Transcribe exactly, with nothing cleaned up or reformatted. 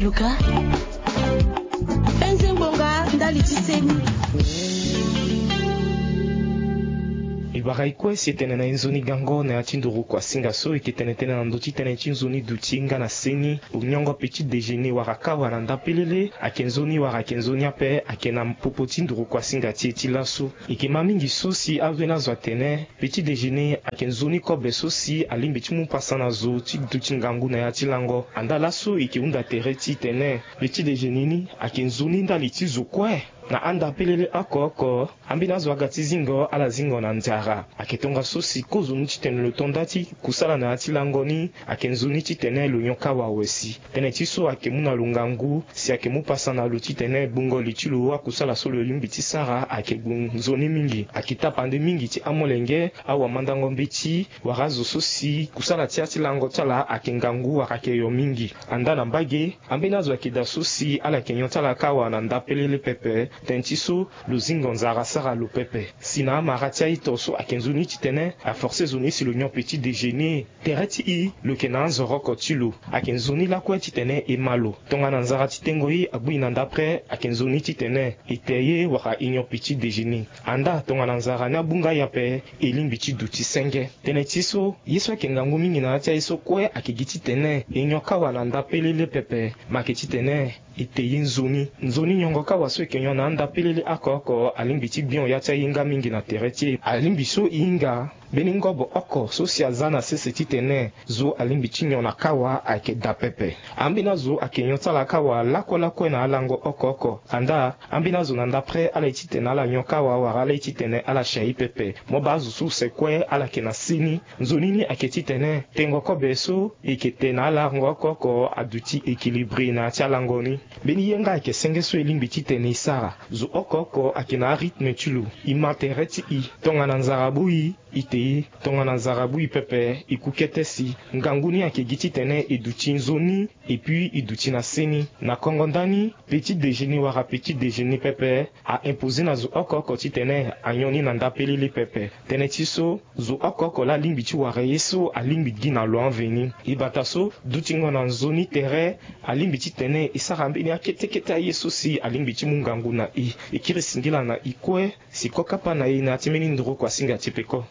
Luka. Penze ngbonga ndali ti seni. E bara e kue si e tene na e nzoni gango na ya ti nduru kuasinga so e ke tene tënë na ndö ti tënë ti nzoni duti nga na seni. Lo nyongo petit déjeuner wala kawa na ndapelele ayeke nzoni wala ayeke nzoni ape ayeke na popo ti nduru kuasinga ti e ti laso. E ke ma mingi so si ambeni azo atene petit déjeuner ayeke nzoni kobe so si alingbi ti mu pasa na zo ti duti ngangu na ya ti lango. Andaa laso e ke hunda tere titene petit déjeuner ni ayeke nzoni ndali ti zo kue. Na andapelele oko oko, ambeni azo aga ti zingo ala zingo na nzara. Ayeke tongaso si kozoni titene lo to nda ti kusala na ya ti lango ni ayeke nzoni titene lo nyon kawa awe si. Tënë ti so ayeke mu na lo ngangu si ayeke mu pasa na lo titene gbungo li ti lo akusala so lo lingbi ti sara ayeke gbu nzoni mingi. Ayeke tapande mingi ti amolenge, awamandango mbeti wala azo so si kusala ti ya ti lango ti ala ayeke ngangu wala ayeke yo mingi. Andaa na mbage, ambeni azo ayeke daa so si ala yeke nyon ti ala kawa na ndapelele pepe. Tënë ti so lo zingo nzara asara lo pepe. Si na amara ti a-ito so ayeke nzoni titene aforce zo ni si lo nyon petit déjeuner. Tere ti e lo yeke na anzoro oko ti lo. Ayeke nzoni lakue titene e ma lo. Tongana nzara ti tengo ye agbu e na ndapre ayeke nzoni titene e te ye wala e nyon petit déjeuner. Andaa tongana nzara ni abu nga e ape, e lingbi ti duti senge. Tënë ti so ye so ayeke ngangu mingi na ya ti aye so kue ayeke gi titene e nyon kawa na ndapelele pepe. Ma ayeke titene e te ye nzoni. Nzoni nyongo kawa so e yeke nyon na andapelele oko oko alingbi ti gbio ya ti ahinga mingi na tere ti e. Alingbi so e hinga mbeni ngobo oko so si aza na sese titene zo alingbi ti nyon na kawa ayeke daa pepe. Ambeni azo ayeke nyon ti ala kawa lakue lakue na alango oko oko. Andaa ambeni azo na ndapre ala ye titene ala nyon kawa wala ala ye titene ala si aye pepe. Mo baa azo so use kue ala yeke na seni. Nzoni ni ayeke titene tengo kobe so e yeke te na alango oko oko aduti équilibré na ya ti alango ni. Mbeni ye nga ayeke senge so e lingbi titene e sara. Zo oko oko ayeke na arythme ti lo. E ma tere ti e. Tongana nzara abu e, e te ye. Tongana nzara abu e pepe, e ku kete si. Ngangu ni ayeke gi titene e duti nzoni, et puis e duti na seni. Na kongo ndani, petit déjeuner wala petit déjeuner pepe a imposer na zo oko oko titene anyon ni na ndapelele pepe. Tënë ti so, zo oko oko laa alingbi ti wara ye so alingbi gi na lo anveni. E bata so, dutingo na nzoni tere alingbi titene e sara mbeni akete kete aye so si alingbi ti mu ngangu na e. E kiri singila na e kue si ko kapa na e na ya ti mbeni nduru kuasinga ti peko.